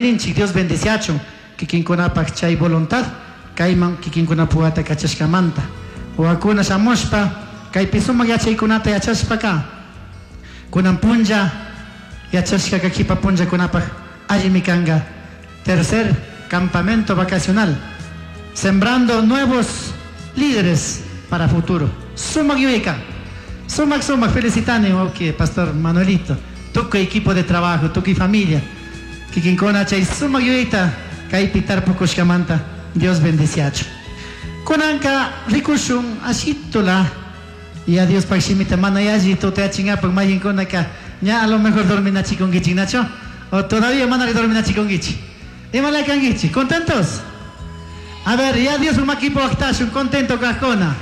Ninchik Dios bendeciachun kikinkunapaq chay voluntad kayman kikinkunapuwata kachashkamanta. Wawakuna shamushpa kaypi sumak yachaykunata yachashpaka kunan punlla yachashkaka kipa punllakunapaq allimi kanka. Tercer campamento vacacional, sembrando nuevos líderes para futuro. Sumak yuyaykan. Sumak sumak felicitani wawki pastor Manuelito, tukuy equipo de trabajo, tukuy familia. Kikinkuna chay sumak yuyayta kaypi tarpukushkamanta Dios bendeciachun. Kunanka rikushun ashitula ya Diospaq shimita mana yalli tutayachingapak mayinkunaka ña a lo mejor dorminachikunkichik, nachu? O todavía manari dorminachikunkichik. Imala kankichik? ¿Contentos? A ver, ya Diospa makipi waqtashun contento kaqkuna.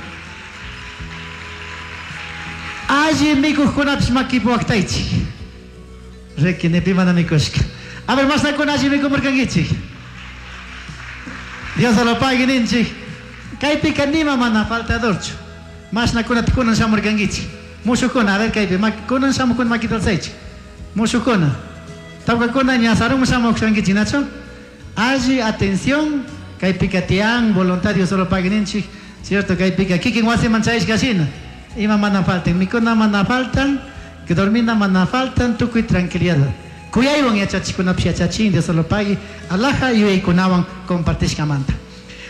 Alli mikuqkunapish makipi waqtaychik. Riki, ni pi mana mikushka. A ver, mashnakuna alli mikumurkankichik. Dios lo pague ninchik. Kaypika nima mana faltadorchu. Mashnakunata kunan shamurkankichik. Mushukuna, a ver kaypi, kunan shamukuna makita alzaychik. Mushukuna. Tawkakuna ña sarunman shamushkankichik, nachu? Alli atención, kaypika tiyan, voluntad Dios solo pague ninchik. Cierto, kaypika kikin wasiman chayashka shina. Ima mana faltan, mikuna mana faltan, que dormina mana faltan, tukuy tranquilidad. Kuyaywan yachachikunapish yachachin, Dios solo pague, alaja yuyaykunawan compartishkamanta.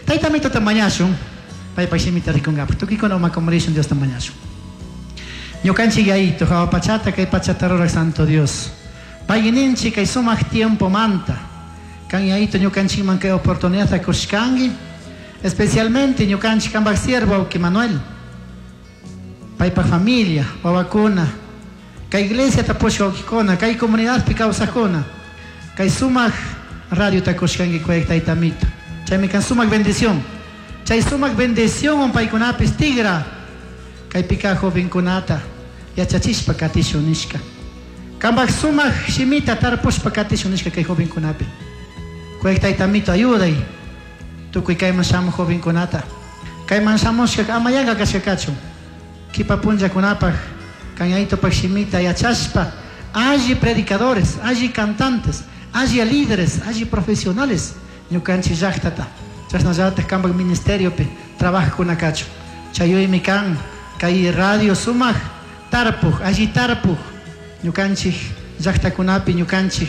Tayta Amituta mañashun, paypak shimita rikungapak. Tukuykuna umakumurishun Diosta mañashun. Ñukanchik Yayito, hawa pachata, kay pachata rurak Santo Dios. Pagui ninchik kay sumak tiempo manta. Kan Yayito ñukanchikman kay oportunidadta kushkanki, especialmente ñukanchik kanpak siervo wawki Manuel, paypak familia, wawakuna, kay iglesiata pushka wawkikuna, kay comunidadpi kawsakuna, kay sumak radiota kushkanki kuyak Tayta Amito. Chaymi kan sumak bendición. Chay sumak bendición paykunapis tigra kaypika jovenkunata yachachishpa katishun nishka. Kanpak sumak shimita tarpushpa katishun nishka kay jovenkunapi. Kuyak Tayta Amito ayuday tukuy kayman shamuq jovenkunata. Kayman shamushka ama yanka kashka kachun. Kipa punllakunapaq kan Yayitopak shimita yachashpa alli predicadores, alli cantantes, alli líderes, alli profesionales ñukanchik llaqtata. Chashnallatak kanpak ministeriopi trabajakuna kachun. Chayuymi kan kay radio sumak tarpuj, alli tarpuj ñukanchik llaqtakunapi, ñukanchik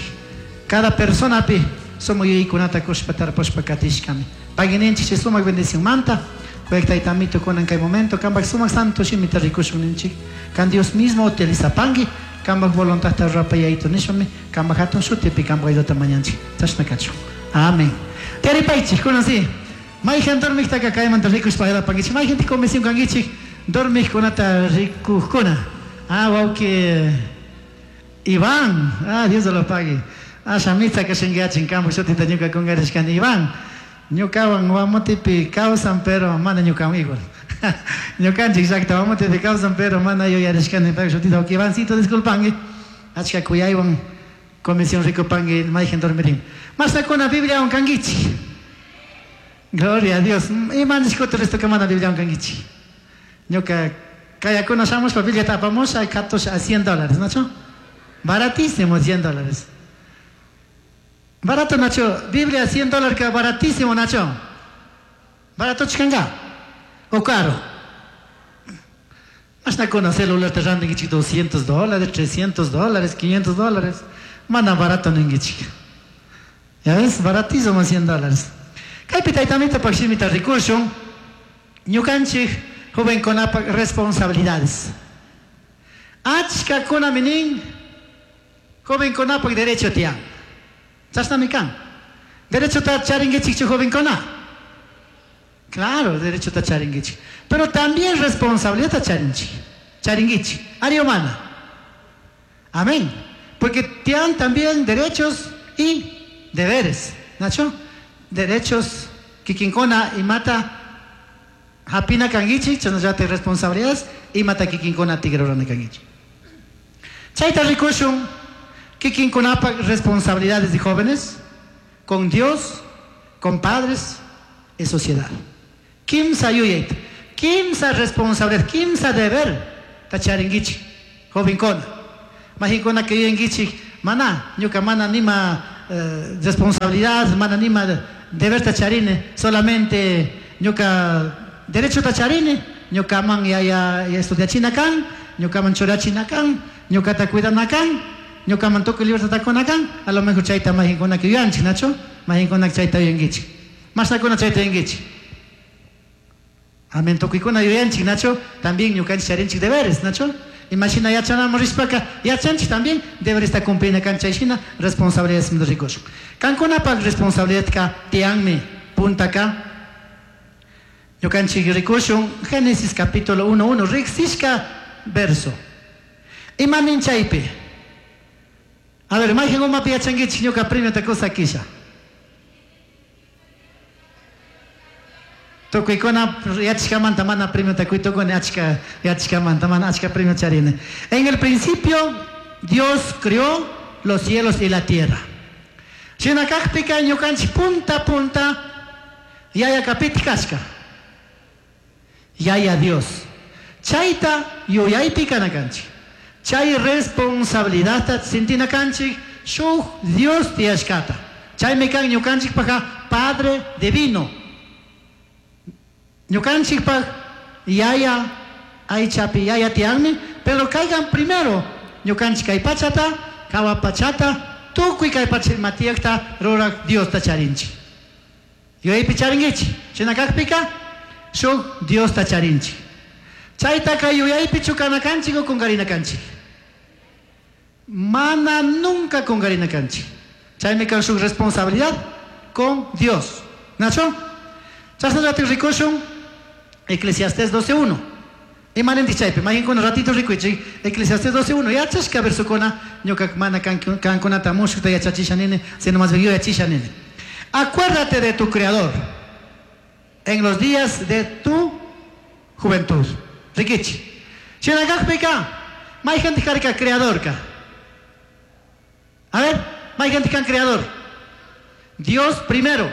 cada personapi sumak yuyaykunata kushpa tarpushpa katishkami. Pagui ninchik chay sumak bendición manta. Kuyak Tayta Amito kunan kay momento kanpak sumak santo shimita rikushun ninchik. Kan Dios mismo utilizapanki kanpak voluntadta rurapa Yayito nishpami kanpak hatun shutipi kanpak ayudata mañanchik. Chashna kachun. Amén. Tiyaripaychik kunan si. Mayhan dormiktaka kaymanta rikushpa ayudapankichik. Mayhan comisión kankichik dormikkunata rikujkuna. Ah, wawki Iván. Ah, Dios lo pague. Ah, shamitza kashinkiachin kanpak shutita ñuka kungarishkani Iván. Ñukawan Guamotepi kawsan, pero mana ñukawan igual. Ñukanchik llaqta Guamotepi kawsan, pero mana yuyarishkani paypak shutita. Wawki Ivancito, disculpanki. Achka kuyaywan comisión rikupanki mayhan dormirin. Mashtakuna Bibliawan kankichik. Gloria a Dios. Ima nishkuta resto mana Bibliawan kankichik. Ñuka kayakuna shamushpa Bibliata apamusha katusha a $100, ¿nachu? Baratísimo, $100. Barato, Nacho. Biblia $100 que baratísimo, Nacho. Barato chikanga. O caro. Mashnakuna celular te rantinkichik $200, $300, $500. Mana barato ninkichik. Ya ves, baratísimo $100. Kaypi Tayta Amitopak shimita rikushun. Ñukanchik jovenkunapak responsabilidades. Achkakuna nin jovenkunapak derecho tiyan. Chashnami kan. Derechota charinkichikchu jovenkuna? Claro, derechota charinkichik. Pero también responsabilidad charinchik. Charinkichik. Ari o mana. Amén. Porque tienen también derechos y deberes. Nacho? Derechos kikinkuna imata hapina kankichik, chashnallata responsabilidades imata kikinkuna tigrarana kankichik. Chayta rikushun kikinkunapak responsabilidades de jóvenes con Dios, con padres y sociedad. Kimsa yuyayta, kimsa responsabilidad, kimsa deber tacharinkichik jovenkuna. Majinkuna que yuyankichik, mana, ñuka mana nima Responsabilidad, mana nima deberta charini, solamente ñuka derechota charini, ñukaman yaya estudiachina kan, ñukaman churachina kan, ñukata cuidana kan, ñukaman tukuy libertadta kuna kan, a lo mejor chayta mayqinkunaka yuyanchik, nachu? Mayqinkunaka chayta yuyankichik. Mashnakuna chayta yuyankichik. Amén, tukuykuna yuyanchik, nachu? También ñukanchik charinchik deberes, nachu? Imashina yachanaman rishpaka yachanchik también deberesta cumplina kan, chay shina responsabilidades rikushun. Kankunapaq responsabilidadka tiyanmi puntaka ñukanchik rikushun Génesis capítulo 1:1 riqsishka verso. Imanin chaypi? A ver, mayqin umapi yachankichik ñuka premiota kusakisha. Tukuykuna yachashkamanta mana premiota quy tukuni, achka yachashkamanta mana achka premio charini. En el principio Dios creó los cielos y la tierra. Shina kakpika ñukanchik punta punta yaya kapiti kashka. Yaya Dios. Chayta yuyaypi kana kanchik. Chay responsabilidadta sintina kanchik shuk Dios tiyashkata. Chaymi kan ñukanchikpaqa Padre Divino. Ñukanchikpaq yaya aychapi yaya tiyanmi, pero kaykan primero ñukanchik kay pachata, kawa pachata, tukuy kay pacha ima tiyakta rurak Diosta charinchik. Yuyaypi charinkichik. Shina kakpika shuk Diosta charinchik. Chaytaka yuyaypichu kana kanchik o kunkarina kanchik. Mana nunca kunkarina kanchik. Chaymi kan shuk responsabilidad con Dios. Nacho? Chashnallati rikushun Eclesiastés 12.1. Imanintik chaypi, mayqinkuna ratito rikuychik Eclesiastés 12.1. Yachashka versokuna ñuka mana kankunata mushukta yachachisha nini, sino más bien yuyachisha nini. Acuérdate de tu Creador en los días de tu juventud. Rikichi. Shina kakpika, mayqintik karka creadorka. A ver, mayqintik kan creador. Dios primero.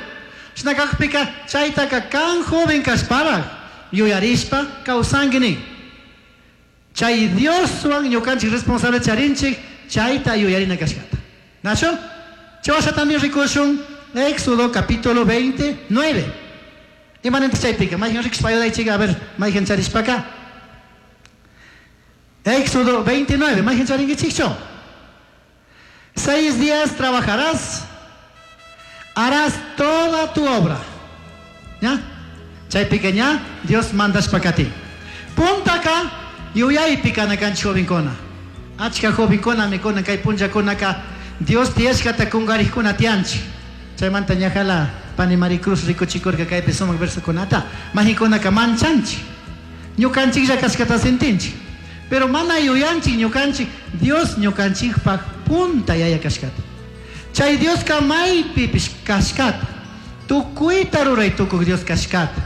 Shina kakpika, chaytaka kan joven kashparaj yuyarishpa kawsanki nin. Chay Dioswan ñukanchik responsable charinchik chayta yuyarina kashkata. Nacho? Chawasha también rikushun Éxodo capítulo 29. Imanintik chaypika, mayqin rikushpa ayudaychik, a ver, mayqin charishpaka. Éxodo 29, mayqin charinkichikchu. 6 días trabajarás, harás toda tu obra. ¿Ya? Chaypika ña Dios mandashpaka ti. Puntaka yuyaypi kana kanchik jovenkuna. Achka jovenkuna mikuna kay punllakunaka Dios tiyashkata kunkarikuna tiyanchik. Chaymanta ñajala pani Maricruz rikuchikurka kaypi sumak versokunata. Majikunaka manchanchik. Ñukanchiklla kashkata sentinchik. Pero mana yuyanchik ñukanchik Dios ñukanchikpaq punta yaya kashkata. Chay Dioska maypipish kashkata. Tukuyta ruray tukuq Dios kashkata.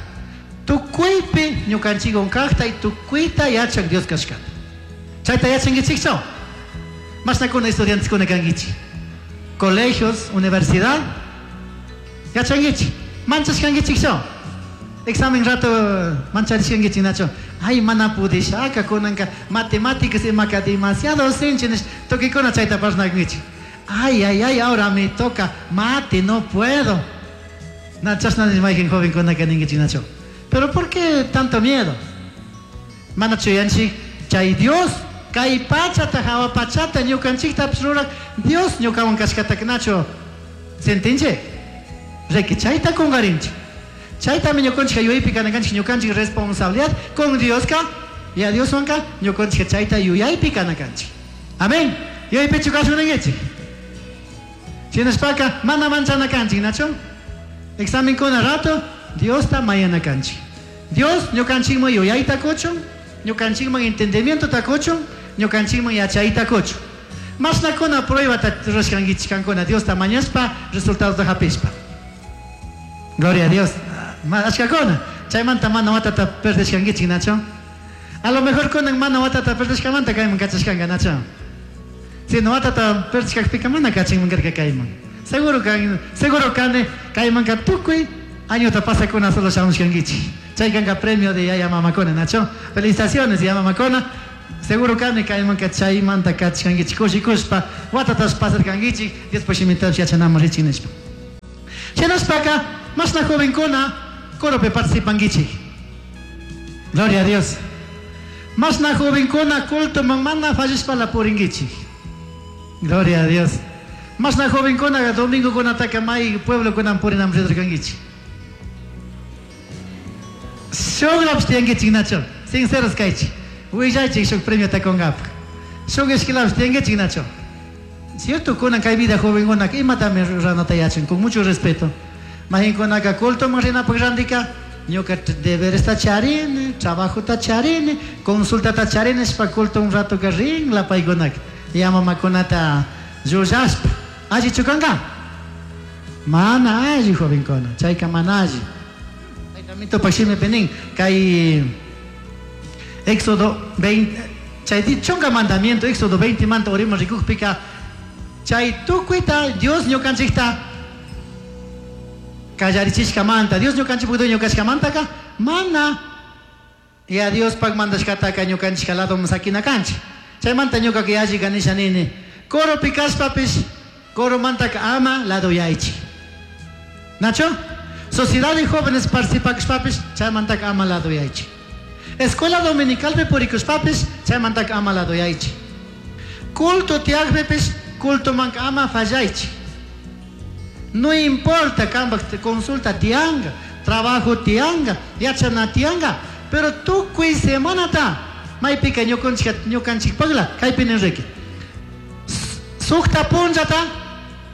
Tukuypi ñukanchikwan kaqta y tukuyta yachaq Dios kashkata. Chayta yachankichikchu? Mashnakuna estudianteskuna kankichik. Colegios, universidad. Yachankichik. Manchashkankichikchu? Examen rato mancharishkankichik nachu. Ay, mana pudishaka kunanka matemáticas imaka demasiado sinchi nish tukuykuna chayta parlakunkichik. Ay, ay, ay, ahora me toca mate, no puedo. Na chashna nish mayqin jovenkunaka ninkichik nachu. Pero ¿por qué tanto miedo? Mana chuyanchik chay Dios kay pachata hawa pachata ñukanchiktapish rurak Dios ñukawan kashkata nachu sentinchik. Riki chayta kunkarinchik. Chaytami ñukanchik yuyaypi kana kanchik ñukanchik responsabilidad con Dioska y a Dioswanka ñukanchik chayta yuyaypi kana kanchik. Amén. Yuyaypichu kashunankichik. Shinashpaka mana manchana kanchik, nachu? Examen kuna rato Diosta mañana kanchik. Dios ñukanchikman yuyayta kuchun, ñukanchikman entendimientota kuchun, ñukanchikman yachayta kuchun. Mashnakuna pruebata rurashkankichik kankuna Diosta mañashpa resultadota hapishpa. Gloria a Dios. Ashkakuna. Chaymanta mana watata perdishkankichik, nachu? A lo mejor kunan mana watata perdishkamanta kayman kachashkanka, nachu? Si no watata perdishkakpika mana kachinman karka kayman. Seguro kan, seguro kane kaymanka tukuy añota pasakuna solo shamushkankichik. Chay kanka premio de yaya mamakuna, nachu? Felicitaciones yaya mamakuna. Seguro kani kaymanka chaymanta kachkankichik kushikushpa watatash pasarkankichik Diospa shimintapish yachanaman richik nishpa. Shinashpaka mashna jovenkuna coropi participankichik. Gloria a Dios. Mashna jovenkuna cultoman mana fallishpala purinkichik. Gloria a Dios. Mashna jovenkuna domingokunataka may pueblokunaman purinaman rirkankichik. Shukllapish tiyankichik nachu. Sinceros kaychik. Willaychik shuk premiota kunkapak. Shuk ishkilapish tiyankichik nachu. Cierto, kunan kay vida jovenkunaka imatami ruranata yachan, con mucho respeto. Mahinkunaka cultoman rinapak randika, ñuka deberesta charini, trabajota charini, consultata charini, nishpa culto un rato ka rin paykunaka. Ya mamakunata llullashpa. Allichu kanka? Mana alli jovenkuna, chayka mana alli. Taytamitupak shimipi nin, kay Éxodo 20, chay chunka mandamiento, Éxodo 20 manta uriman rikukpika, chay tukuyta Dios ñukanchikta kallarichishkamanta, Dios ñukanchikpak dueño kashkamantaka, mana ya Diospak mandashkataka ñukanchik ladoman sakina kanchik. Chaymanta ñukaka yallika nisha nini, coropi kashpapish, coromantaka ama ladoyaychik. Nacho? Sociedad de jóvenes participakashpapish, chaymantaka ama ladoyaychik. Escuela dominicalpi purikushpapish, chaymantaka ama ladoyaychik. Culto tiyakpipish, cultomanka ama fallaychik. No importa kampak consulta tianga, trabajo tianga, yachana tianga, pero tukuy semanata maypika ñukanchik ñukanchikpakla kaypi nin. Sukta punllata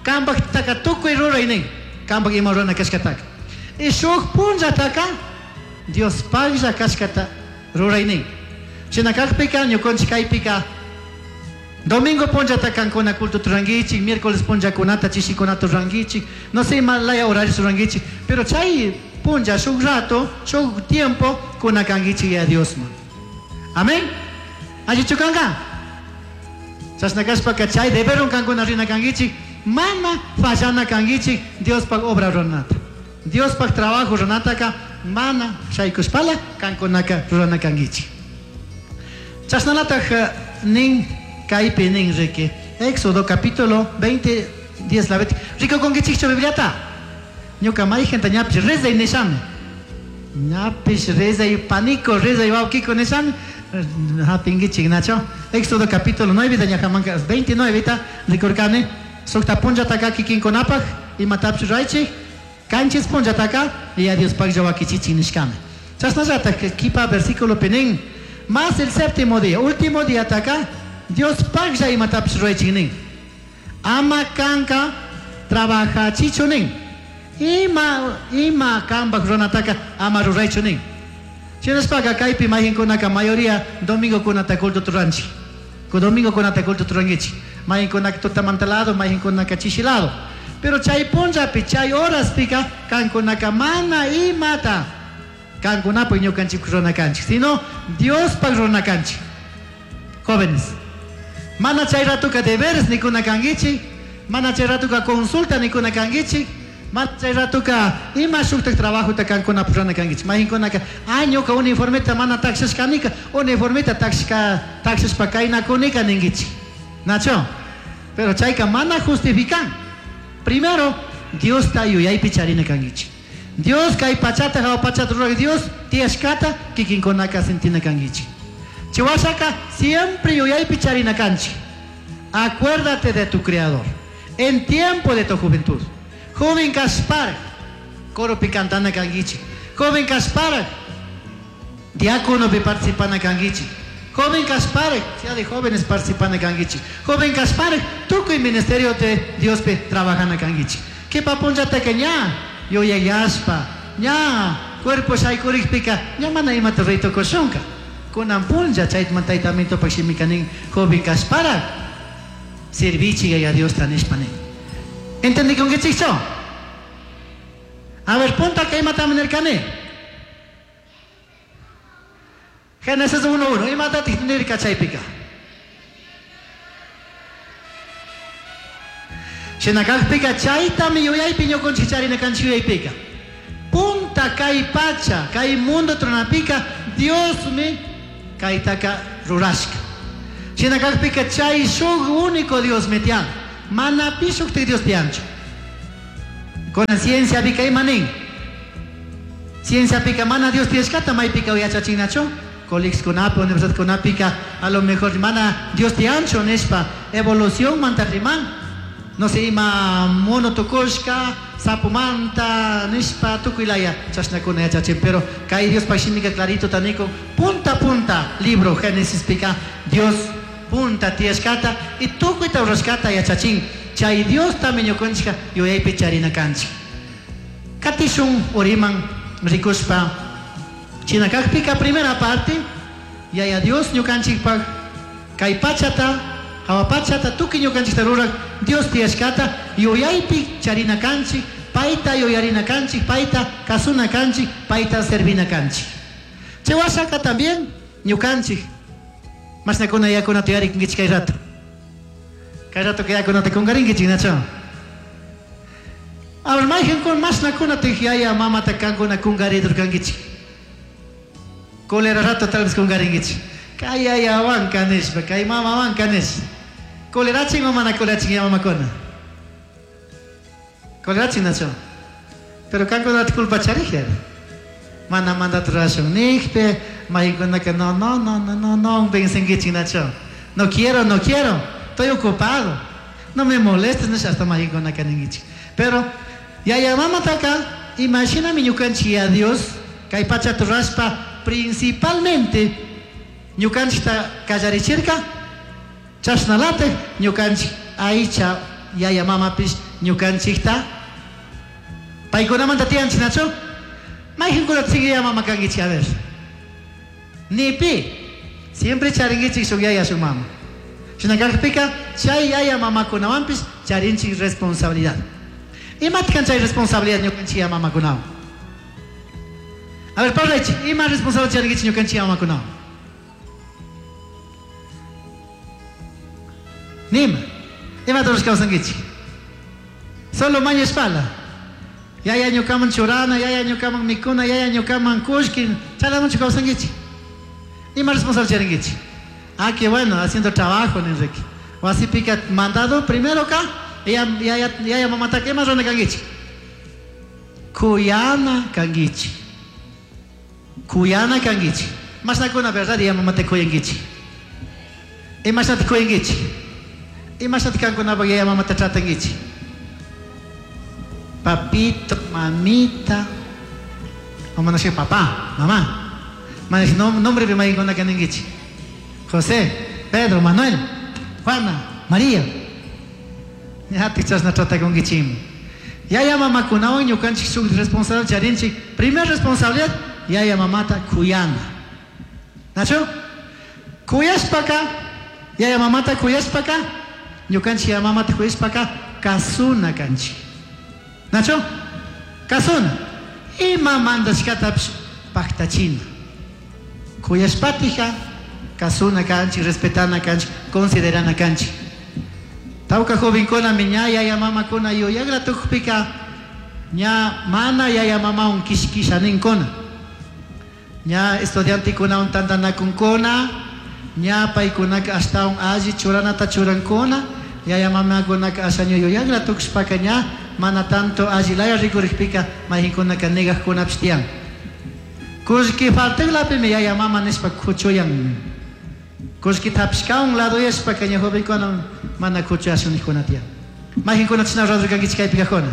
kampaktaka tukuy ruray nin, kampak ima rurana kashkataka. Y shuk punllataka Diospaklla kashkata ruray nin. Shina kakpika ñukanchik kaypika domingo punllata kankuna culto rurankichik, miércoles punllakunata chishikunata rurankichik, no sé ima laya horario rurankichik, pero chay punlla shuk rato, shuk tiempo kuna kankichik ya Diosman. Amén. Allichu kanka? Chashna kashpaka chay deberon kankuna rina kankichik, mana fallana kankichik Diospak obra ruranata. Diospak trabajo ruranataka mana shaykushpala kankunaka rurana kankichik. Chashnalataj nin kaypi nin riki. Éxodo capítulo 20, 10 la 20. Rikukunkichikchu Bibliata. Ñuka mayjanta ñapish rezay nishami. Ñapish rezay paniko, rezay wawkiko nishami. Hapinkichik nacho. Éxodo capítulo 9 ñajamanka 29 ta rikurkani. Sukta punllataka kikinkunapak imatapish ruraychik. Kanchis punllataka Yaya Diospaklla wakichichik nishkami. Chashnallatak kipa versículo nin. Más el séptimo día, último día taka Diospaklla imatapish ruraychik nin. Ama kanka trabajachichu nin. Ima ima kampak runataka ama ruraychu nin. Shinashpaka kaypi mayinkunaka mayoría domingokunata culto ruranchik. Domingokunata culto rurankichik. Mayinkunaka tutamanta lado, mayinkunaka chishi lado. Pero chay punllapi, chay horaspika kankunaka mana imata kankunapak ñukanchik rurana kanchik, sino Diospak rurana kanchik. Jóvenes, mana chay ratuka deberes nikuna kankichik, mana chay ratuka consulta nikuna kankichik, mana chay ratuka ima shuktak trabajota kankunapak rurana kankichik. Mayinkunaka, ah, ñuka uniformeta mana takshashkanika, uniformeta takshka takshashpa kaynakunika ninkichik. Nacho, pero chayka mana justifican. Primero, Diosta yuyaypi charina kankichik. Dios kay pachata hawa pachata rurak Dios tiyashkata kikinkunaka sentina kankichik. Chiwashaka siempre yuyaypi charina kanchik. Acuérdate de tu creador en tiempo de tu juventud. Joven kashpara, coropi cantana kankichik. Joven kashpara, diácono pi participana kankichik. Joven kashpara, sea de jóvenes participana kankichik. Joven kashpara, tukuy ministerio de Dios pe trabajana kankichik. Kipa punllataka ña yuyayashpa, ña cuerpo shaykurikpika, ña mana imata ruraytukushunka. Kunan punlla chayman taytamitupak shimika nin, joven kashpara, sirvichik Yaya Diosta nishpa nin. ¿Entendikunkichikchu? A ver, puntaka imatami nirkani. Génesis 1:1, imatatik nirka chaypika. Shinakakpika chaytami yuyaypi ñukunchik charina kanchik yuyaypika. Punta kay pacha, kay mundo tronapika, Diosmi kaytaka rurashka. Shinakakpika chay shuk único Dios metian. Mana pi shuktik Dios tiyanchu. Kunan cienciapika ima nin? Cienciapika mana Dios tiyashkata maypika yachachinachu? Colegioskunapi, universidadkunapika a lo mejor mana Dios tiyanchu nishpa evolución manta riman. No sé, ima mono tukushka, sapumanta nishpa tukuy laya chashnakuna yachachin. Pero kay Diospaj shimika clarito tanikun punta punta libro Génesispika Dios punta tiyashkata y tukuyta rurashkata yachachin. Chay Diostami ñukanchika yuyaypi charina kanchik. Katishun uriman rikushpa chinakakpika primera parte yaya Dios ñukanchikpak kay pachata hawa pachata tukuy ñukanchikta rurak Dios tiyashkata yuyaypi charina kanchik, payta yuyarina kanchik, payta kasuna kanchik, payta servina kanchik. Chay washaka también ñukanchik mashnakuna yakunata yuyarikunkichik kay rato. Kay rato kay yakunata kunkarinkichik, nacho? A ver, mayqankuna mashnakuna yaya mamata kankuna kunkaridurkankichik. Cólera rato tal vez kunkarinkichik. Kay yayawanka nishpa, kay mamawanka nishpa. Colerachin o mana colerachin ya mamakuna? Colerachin, nacho? Pero kankunata culpa charijlla. Mana mandato rurashun nijpi, mayqankunaka no, no, no, no, no, no, pensankichik, nacho? No quiero, no quiero, estoy ocupado. No me molestes, nishpa hasta mayqankunaka ninkichik. Pero yaya mamataka, imashinami ñukanchik ya Dios, kay pachata rurashpa principalmente ñukanchikta kallarichirka, chashnalatik ñukanchik aycha yaya mamapish ñukanchikta paykunamanta tiyanchik, nachu? Mayqankunata sigue yaya mama kankichik, a ver. Ni pi. Siempre charinkichik shuk yaya shuk mama. Shinakakpika chay yaya mamakunawanpish charinchik responsabilidad. Imatik kan chay responsabilidad ñukanchik yaya mamakunawan? A ver, parlaychik, ima responsabilidad charinkichik ñukanchik yaya mamakunawan? Nima. Imata rurashka kawsankichik? Solo mañashpala. Yaya ñukaman churana, yaya ñukaman mikuna, yaya ñukaman kullki, chaylamanchu kawsankichik? Ima responsabilidad charinkichik? Ah, qué bueno, haciendo trabajo, Enrique. Wasipika mandado primero ka, yaya, yaya, yaya mamataka ima rurana kankichik? Kuyana kankichik. Kuyana kankichik. Mashnakuna verdad yaya mamata kuyankichik? Imashnata kuyankichik? Imashnata kankunapak yaya mamata tratankichik? Papito, mamita, o mana papá, mamá. Mana nombre mayqankunaka ninkichik? José, Pedro, Manuel, Juana, María. Ñatik chashna tratakunkichikmi. Yaya mamakunawan ñukanchik shuk responsabilidad charinchik. Primer responsabilidad, yaya mamata kuyana. Nacho? Kuyashpaka, yaya mamata kuyashpaka, ñukanchik yaya mamata kuyashpaka, kasuna kanchik. Nacho? Kasuna. Ima mandashkatapish paktachina. Kuyashpatija, kasuna kanchik, respetana kanchik, considerana kanchik. Tawka jovenkuna ña yaya mamakuna yuyakla tukpika ña mana yaya mamawan kishkisha ninkuna. Ña estudiantekunawan tantanakunkuna, ña paykunaka ashtawan alli churanata churankuna, yaya mamakunaka asha ña yuyakla tukushpaka ña mana tanto allilaya rikurikpika mayqinkunaka negajkunapish tiyan. Kullki faltaklapimi yaya mama nishpa kuchuyan. Kullkita hapishkawan ladoyashpaka ña jovenkuna mana kuchuyashun nijkuna tiyan. Mayqinkuna chashna rurarkankichik kaypi kajkuna?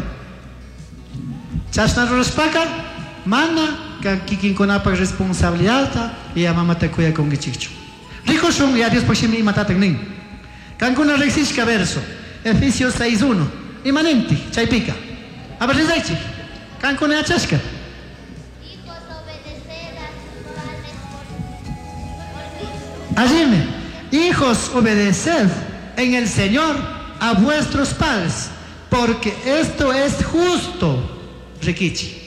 Chashna rurashpaka mana kikinkunapak responsabilidadta yaya mamata kuyakunkichikchu. Rikushun ya Diospaj shimi imatatak nin. Kankuna riksishka verso, Efesios 6.1. Imanintik chaypika. A ver, rizaychik. Kankuna yachashka. Hijos, obedeced a sus padres porque Allíme. Hijos, obedeced en el Señor a vuestros padres, porque esto es justo. Rikichi.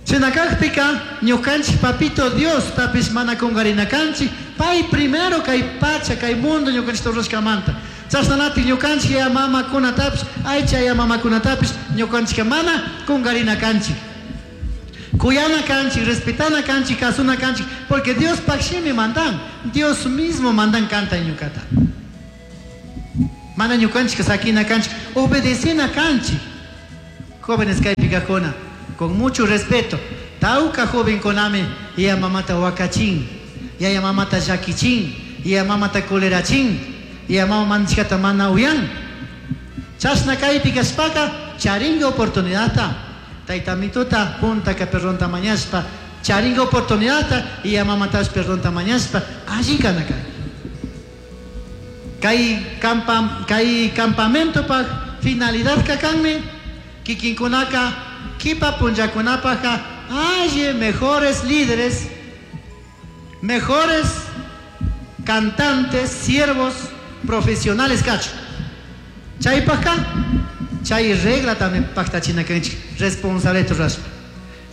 Chinakakpika ñukanchik papito Dios tapish mana kungarinakanchik, pay primero kay pacha kay mundo ñukanchik rurashkamanta. Chashnalatik ñukanchik yaya mamakunatapish, aycha yaya mamakunatapish ñukanchika mana kungarinakanchik. Kuyana kanchik, respetana kanchik, kasuna kanchik, porque Dios shimi mandan, Dios mismo mandan kanta ñukata. Mana ñukanchik sakina kanchik, obedecina kanchik. Jóvenes kaypi kajkuna, con mucho respeto, tawka jovenkunami yaya mamata wakachin, yaya mamata llakichin, yaya mamata colerachin, yaya mama mandashkata mana uyan. Chashna kaypi kashpaka charinga oportunidadta, tayta mituta puntaka perdonta mañashpa, charinga oportunidadta yaya mamatash perdonta mañashpa, alli kana kanki. Kay campamentopaj finalidad kanmi, kikinkunaka kipa punllakunapajka alli mejores líderes, mejores cantantes, siervos, profesionales kachu. Chaypajka, chay regla también paktachina kanchik, responsable rurashpa.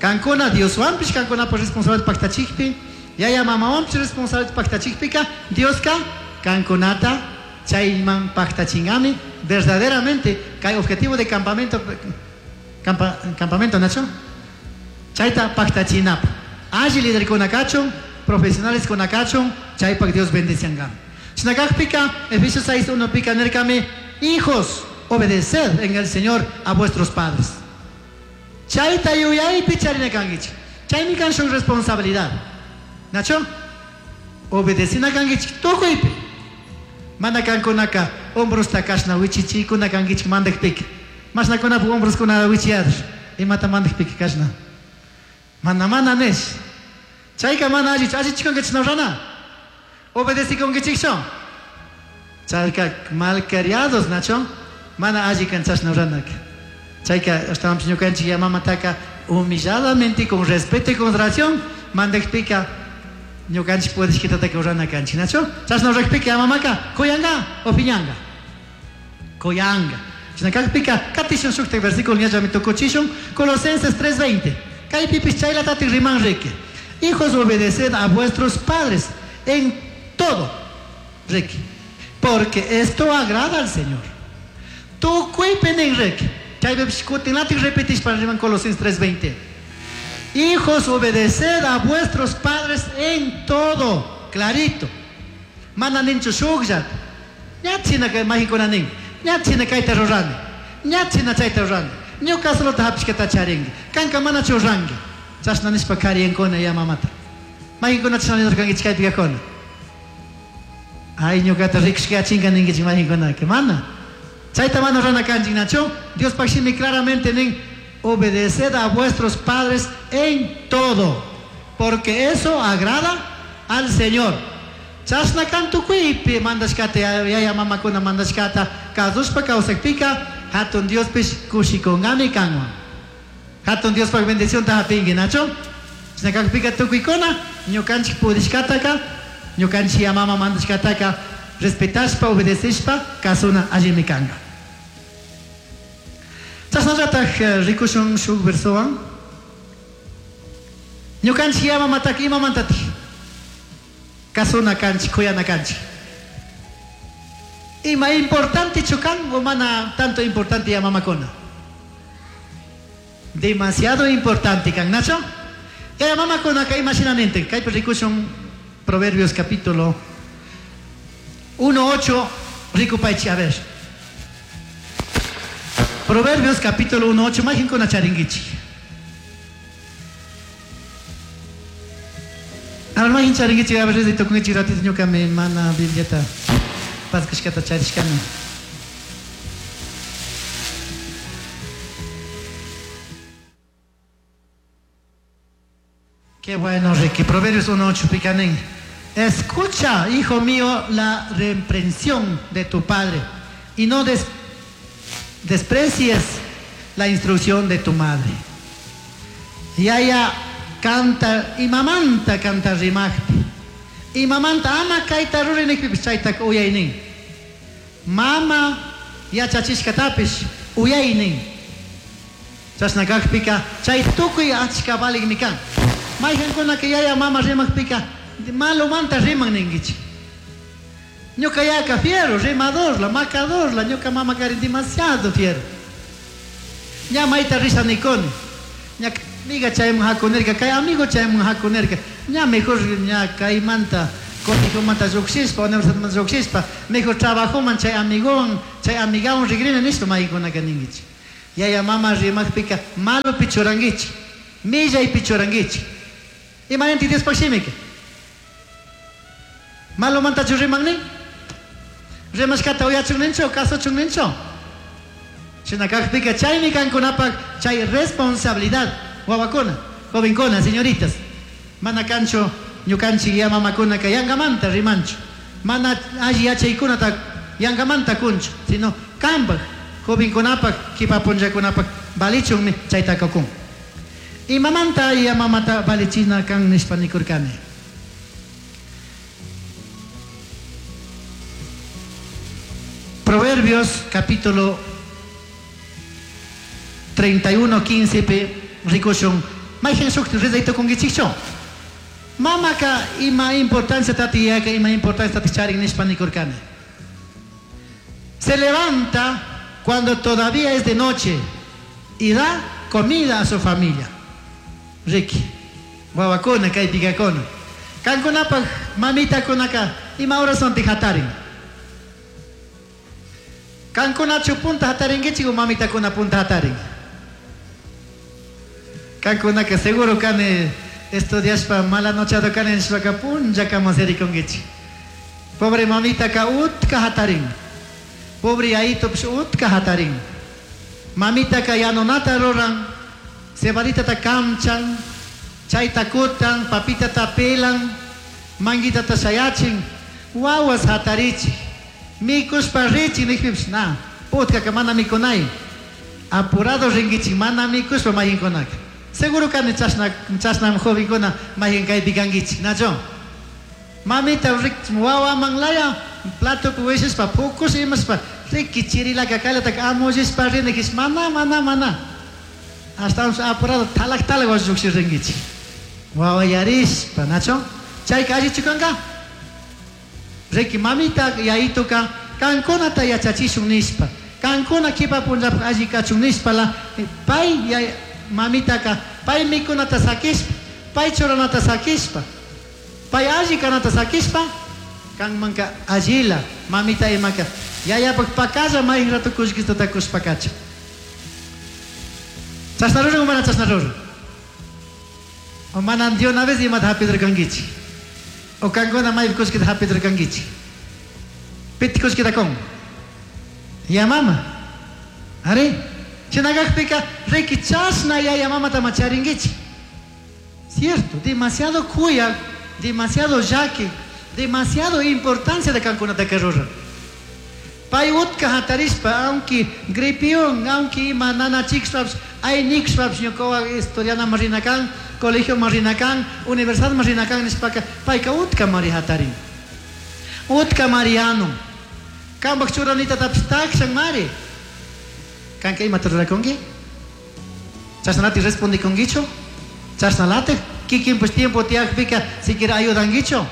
Kankuna Dioswanpish, kankunapaj responsable paktachikpi, yaya mamawanpish responsable paktachikpika, Dioska kankunata chayman paktachingami verdaderamente kay objetivo de campamento, campamento Nacho, chayta paktachinapa. Alli liderkuna kachun, profesionales kuna kachun, chaypak Dios bendiciangami. Shinakajpika, Efesios 6:1 pika nerkami, hijos, obedeced en el Señor a vuestros padres. Chayta yuyaypi charina kankichik. Chaymi kan shuk responsabilidad. Nacho, obedecina kankichik tukuypi. Mana kankunaka hombrosta kashna wichichikuna kankichik mandakpika. Mashnakunapak hombroskuna wichiyadur. Imata mandakpika kashna. Mana mana nesh. Chayka mana allichu, allichikunkichik rana. Obedecikunkichikchu. Chayka malcriados, Nacho. Mana alli kan chashna ranaka. Chayka ashtawanpish ñukanchik ya mamataka humilladamente, con respeto y consideración, mandakpika ñukanchik pudishkitataka rurana kanchik, Nacho. Chashna rurakpika ya mamaka kuyanga o piñanga. Kuyanga. Chinakakpika katishun shuktak versículo ñallami tukuchishun, Colosenses 3:20. Kaypipis chaylatati riman riki. Hijos, obedeced a vuestros padres en todo, riki, porque esto agrada al Señor. Tukuypi nin riki. Chaypipish kutinlatik repetishpa riman Colosenses 3:20. Hijos, obedeced a vuestros padres en todo. Clarito. Mana ninchu shukllata. Ñachina kay majikuna nin. Ñachina kayta rurani. Ñachina chayta rurani. Ñuka solota hapishkata charinki. Kanka mana churranki. Chashna nishpa kariyankuna ya mamata. Majikuna chashna nirkankichik kaypi kajkuna. Ay, ñukata rikushkachinka ninkichik majinkunaka. Mana. Chayta mana rurana kanchik, Nacho. Diospak shimi claramente nin, obedeced a vuestros padres en todo, porque eso agrada al Señor. Chashna kan tukuypi mandashkata, yaya mamakuna mandashkata, kasushpa kawsakpika, hatun Diospish kushikungami kanwan. Hatun Diospak bendicionta hapinki, Nacho. Chashna kakpika tukuykuna, ñukanchik pudishkataka, ñukanchik ya mama mandashkataka, respetashpa, obedecishpa, kasuna allimi kanka. Chashnallataj rikushun shuk versowan. Ñukanchik ya mamataka imamantataj kasuna kanchik, kuyana kanchik. Ima importante kan o mana tanto importante ya mamakuna? Demasiado importante kan, Nacho. Ya mamakunaka ima shina nintin. Kaypi rikushun Proverbios capítulo 1:8, rikupaychik, a ver. Proverbios capítulo 1:8, majinkuna charinkichik. A ver, majin charinkichik, a ver, desde tukunkichik ratito ñukami mana Bibliata paskashkata charishkani. Qué bueno, Ricky. Proverbios 1:8, picanín. Escucha, hijo mío, la reprensión de tu padre y no desprecies la instrucción de tu madre. Yaya canta y mamanta canta rimajpi. Y mamanta ama kaita rurinikpipis chaytak uyaynin. Mama yachachishkatapish uyaynin. Chashna kakpika chay tukuy achka valigmi kan. Mayqankunaka yaya mama rimajpika malumanta riman ninkichik. Ñuka yaka fiero, rimador, la macador, la ñuka mama karin demasiado fiero. Ña mayta risha nikuni. Ña amiga chayman hakunirka, kay amigo chayman hakunirka. Ña mejor ña kaymanta colegio-manta lluqshishpa, universidadmanta lluqshishpa, mejor trabajoman chay amigowan, chay amigawan rigrina nishpa maykunaka ninkichik. Yaya mama rimaqpika malopi churankichik, millaypi churankichik. Imaninti Diospaq shimika? Malomantachu riman nin? Rimashkata uyachun ninchu, kasuchun ninchu? Shina kaqpika chaymi kankunapaq chay responsabilidad wawakuna, jovenkuna, señoritas. Mana kanchu ñukanchik ya mamakunaka yangamanta rimanchu. Mana alli yachaykunata yangamanta kunchu, sino kanpaq, jovenkunapaq, kipa punllakunapaq valichunmi chaytaqa kun. Imamanta ya mamata valichina kan nishpa nikurkani. Proverbios capítulo 31, 15 pi rikushun. Mayqin shuk rezayta kunkichikchu? Mamaka ima importancia tati yaka ima importancia tati charin nishpa nikurkani. Se levanta cuando todavía es de noche y da comida a su familia. Ricky, wawakuna kaypikakuna. Kankunapaq mamitakunaka ima horas hatarin? Kankunachu punta hatarinkichik o mamitakuna punta hatarin? Kankunaka seguro kani estudiashpa mala nochado kani nishpaka punllakama sirikunkichik. Pobre mamitaka utka hatarin. Pobre yayitopish utka hatarin. Mamitaka yanunata ruran, cebaditata kamchan, chayta kutan, papitata pelan, manguitata shayachin, wawas hatarichik. Mikushpa richik nijpipish na, utkaka mana mikunay. Apurado rinkichik mana mikushpa mayinkunaka. Seguro kani chashna chashna jovenkuna mayhin kaypi kankichik, nachu? Mamita wawaman laya platopi wishishpa pukush imashpa riki chirilaka kaylataka amullishpa rinakis mana mana mana. Ashtawanpish apurado talak talak wasi lluqshir rinkichik. Wawa yarishpa, nachu? Chayka allichu kanka? Riki mamita yayituka kankunata yachachishun nishpa, kankuna kipa punllapaq alli kachun nishpala pay mamitaka pay mikunata sakishpa, pay churanata sakishpa, pay alli kanata sakishpa, kanmanka allila mamita imaka yayapaq pakalla mayqin rato kullkitata kushpa kacha. Chashna ruran o mana chashna ruran? O mana de una vez imata hapidurkankichik? O kankuna maypi kullkita hapidurkankichik? Piti kullkita kun? Ya mama. Ari? Shina kakpika riki chashna yaya mamata ma charinkichik. Cierto, demasiado kuyak, demasiado llaki, demasiado importancia de kankunataka ruran. Pay utka hatarishpa, aunque gripión, aunque ima nanachikshpapish, aynikshpapish ñukawan estudianaman rina kan, colegioman rina kan, universidadman rina kan nishpaka, payka utka mari hatarin. Utka mariano. Kanpak churanitatapish takshan mari. Kanka imata rurakunki? Chashnalatik respondikunkichu? Chashnalatik kikinpish tiempo tiyakpika siquiera ayudankichu?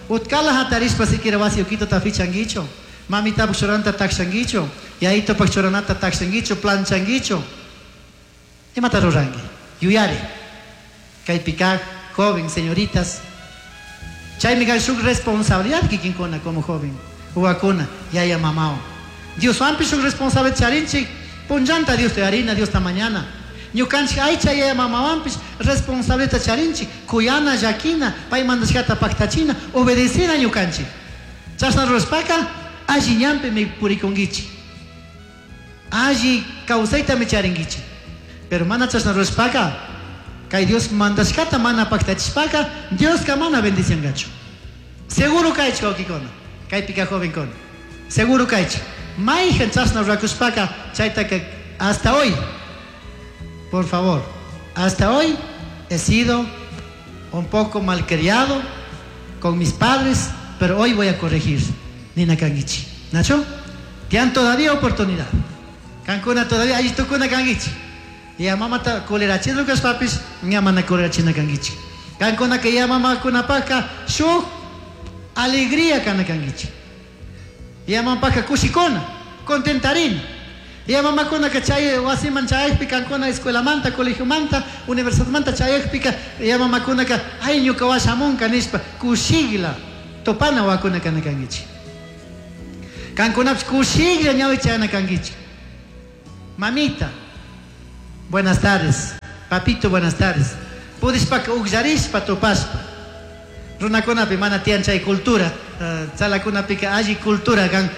Utkala hatarishpa siquiera wasi ukituta fichankichu? Mamitapak churanata takshankichu? Yayitopak churanata takshankichu? Planchankichu? Imata ruranki? Yuyari. Kaypi kaq joven, señoritas. Chaymi kan shuk responsabilidad kikinkuna como joven. Wawakuna, yaya mamawan. Dioswanpish shuk responsabilidad charinchik. Punllanta Diosta yarina, Diosta mañana. Ñukanchik aycha yaya mamawanpish responsabilidad charinchik. Kuyana, llakina, pay mandashkata paktachina, obedecina ñukanchik. Chashna rurashpaka alli ñanpimi purikunkichik. Alli kawsaytami charinkichik. Pero mana chashna rurashpaka, kay Dios mandashkata mana paktachishpaka, Dioska mana bendiciangachu. Seguro kaychik wawkikuna, kaypika jovenkuna. Seguro kaychik. Mayqin chashna rurakushpaka, chaytaka hasta hoy, por favor, hasta hoy he sido un poco malcriado con mis padres, pero hoy voy a corregir. Nina kankichik. Nacho? Tienen todavía oportunidad. Kankuna todavía alli tukuna kankichik. Ya mamata colerachina kashpapish, ña mana colerachina kankichik. Kankuna que ya mamakunapaka shuk alegría kana kankichik. Ya mampaka kushikuna, contentarina. Yaya mamakunaka chay wasiman chayakpi kankuna escuelamanta, colegiomanta, universidadmanta chayakpika yaya mamakunaka ay ñuka washamunka nishpa kushikla topana wakuna kana kankichik. Kankunapish kushiklla ñawi chayana kankichik. Mamita, buenas tardes. Papito, buenas tardes. Pudishpaka ukllarishpa tupashpa. Runakunapi mana tiyan chay cultura, tzalakunapika alli cultura kan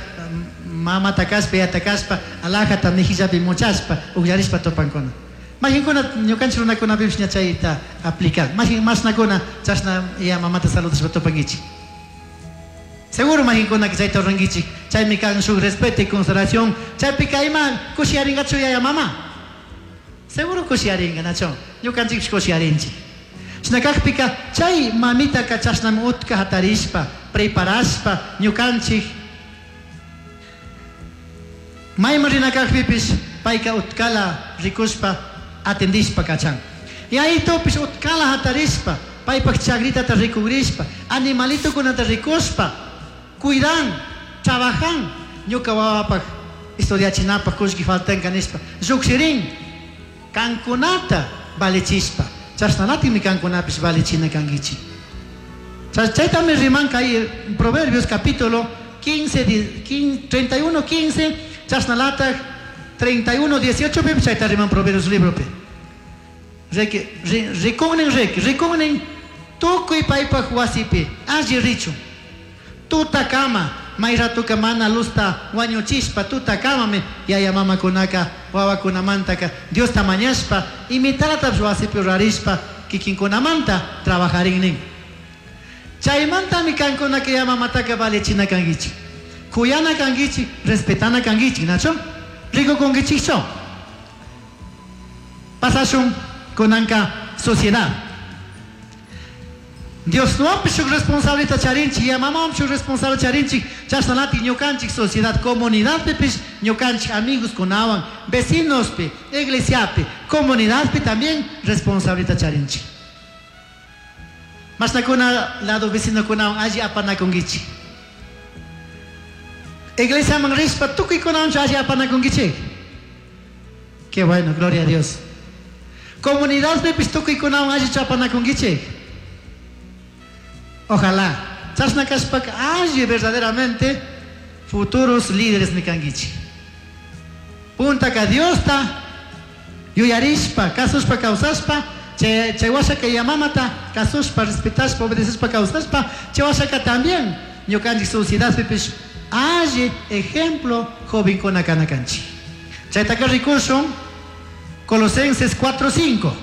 mamata kashpa, yayata kashpa, alajata mejillapi muchashpa, ukllarishpa tupankuna. Majinkuna ñukanchik runakunapipish ña chayta aplican. Majin mashnakuna chashna yaya mamata saludashpa tupankichik. Seguro majinkunaka chayta rurankichik. Chaymi kan shuk respeto y consideración. Chaypika ima kushiyarinkachu yaya mama? Seguro kushiyarinka, nachu? Ñukanchikpish kushiyarinchik. Chashna kakpika chay mamitaka chashnami utka hatarishpa, preparashpa ñukanchik mayman rina kakpipish payka utkala rikushpa atendishpa kachan. Yayitupish utkala hatarishpa paypak chagritata rikugrishpa, animalitokunata rikushpa, cuidan, trabajan, ñuka wawapak estudiachinapak kullki faltanka nishpa llukshirin, kankunata valichishpa, chashnalatikmi kankunapish valichina kankichik. Chaytami riman kay Proverbios capítulo 15, 31, 15, chashnalatak 31, 18 pipish chayta riman Proverbios libropi. Riki, rikunnin riki, rikunnin tukuy paypak wasipi alli richun. Tutakama, may ratuka mana luzta wañuchishpa, tutakamami yaya mamakunaka wawakunamantaka Diosta mañashpa, imitaratapish wasipi rurarishpa, kikinkunamanta trabajarin nin. Chaymantami kankunaka yaya mamataka valichina kankichik. Kuyana kankichik, respetana kankichik, nachu? Rikukunkichikchu? Pasashun kunanka sociedad. Dios nuwanpish shuk responsabilidad charinchik, yaya mamawanpish shuk responsabilidad charinchik, chashnalatik ñukanchik sociedad, comunidadpipish ñukanchik amigos kunawan, vecinospi, iglesiapi, comunidadpi también responsabilidad charinchik. Mashnakuna lado vecinokunawan alli apanakunkichik. Iglesiaman rishpa tukuykunawanchu alli apanakunkichik. Qué bueno, gloria a Dios. Comunidadpipish tukuykunawan allichu apanakunkichik. Ojalá. Chashna kashpaka alli verdaderamente futuros líderes mi kankichik. Puntaka Diosta yuyarishpa, kasushpa, kawsashpa, chay washaka yaya mamata kasushpa, respetashpa, obedeceshpa, kawsashpa, chay washaka también ñukanchik sociedadpipish alli ejemplo jovenkuna kana kanchik. Chaytaka rikushun Colosenses 4:5.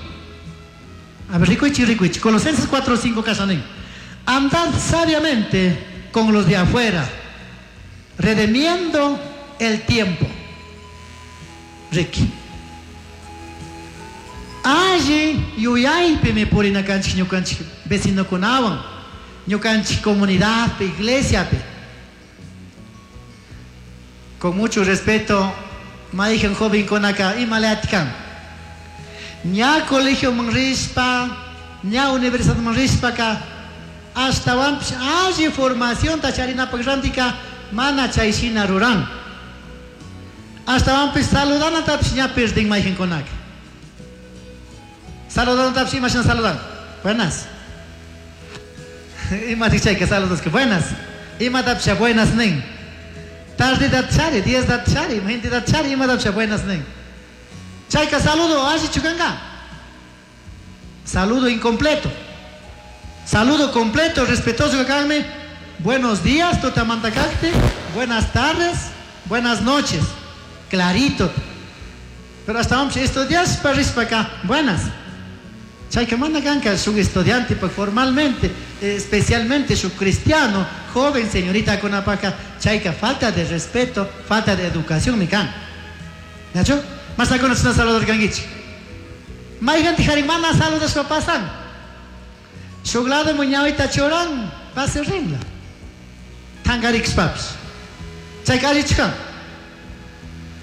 A ver, rikuichi, rikuichi. Colosenses 4:5 kashanin. Andad sabiamente con los de afuera, redimiendo el tiempo. Ricky. Alli yuyaypi mi purina kanchik ñukanchik vecinokunawan, ñukanchik comunidadpi, iglesiapi. Con mucho respeto, mayqan jovenkunaka imalayatikan. Ña colegioman rishpa, ña universidadman rishpaka, ashtawanpish alli formacionta charinapak rantika mana chay shina ruran. Ashtawanpish saludanatapish ña perdin mayqankunaka. Saludanatapish ima shina saludan? Buenas. Imatik chayka saludaska? Buenas. Imatapish buenas nin. Tarde chari, 10 da chari, 20 da chari, imatapish buenas nin. Chayka saludo allichu kanka. Saludo incompleto. Saludo completo, respetuoso kanmi. Buenos días, tutamantacacte. Buenas tardes, buenas noches. Clarito. Pero hasta vamos estudiar para acá. Buenas. Chayka mana kanka shuk estudiante, pues formalmente, especialmente su cristiano, joven señorita kunapaka, chayka falta de respeto, falta de educación mi kan. ¿Nacho? Mas acá no saludar kankichik. Mayqanti harin mana saludashpa pasan. Shuk lado ñawita churan, pase rinla. Tangarikshpapish. Chayka allichu kan.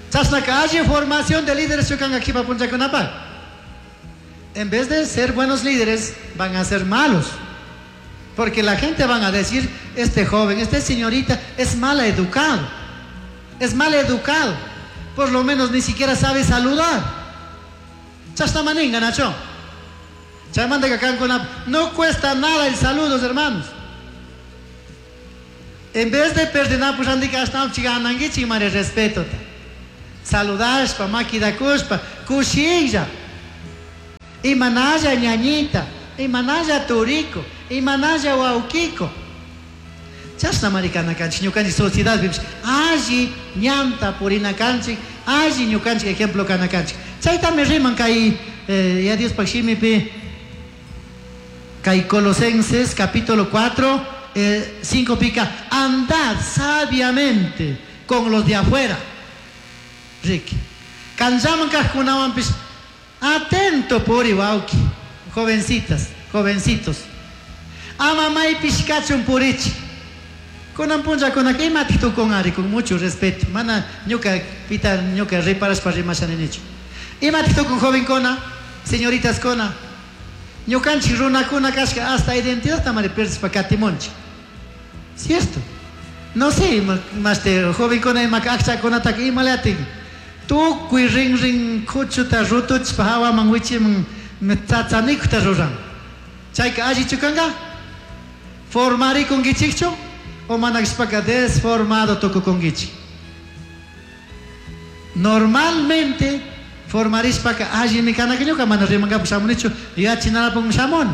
Chashnaka alli formación de líderes kanka kipa punchakunapak. En vez de ser buenos líderes, van a ser malos. Porque la gente van a decir, este joven, esta señorita es mal educado. Es mal educado. Por lo menos ni siquiera sabe saludar. Chashna maninga, nacho. Chaymanta kankuna no cuesta nada el saludos, hermanos. En vez de perder, pues andika ashtawanpish ganankichik mari respetota. Saludashpa, maquidakushpa, kushilla. Imanalla ñañita, imanalla turico, imanalla wawkiko. Chashna mari kana kanchik, ñukanchik sociedad pipish alli ñanta purina kanchik, alli ñukanchik ejemplo kana kanchik. Chaytami riman kay ya Diospaj shimipi, kay Colosenses capítulo 4, 5 pica, andad sabiamente con los de afuera. Ricky. Kanllaman kajkunawanpish atento puri wawki, jovencitas, jovencitos. Ama maypish kachun purichik. Kunan punllakunaka imatik tukun ari, con mucho respeto. Mana ñuka pita ñuka reparashpa rimashani nichu. Imatik tukun jovencuna, señoritas kuna. Ñukanchik runakuna kashka hasta identidad tamari perdishpa katimunchik. Cierto. No sé, más te jovencuna ima akchakunataka imalatik. Tukuy rin rin kuchuta rutuchpa hawaman wichiman tsatsanikuta ruran. Chayka allichu kanka? Formarikunkichikchu? O manakshpaka desformado tukukunkichik. Normalmente formarishpaka allimi kanaka ñuka mana rimankapak shamunichu yachinalapakmi shamuni.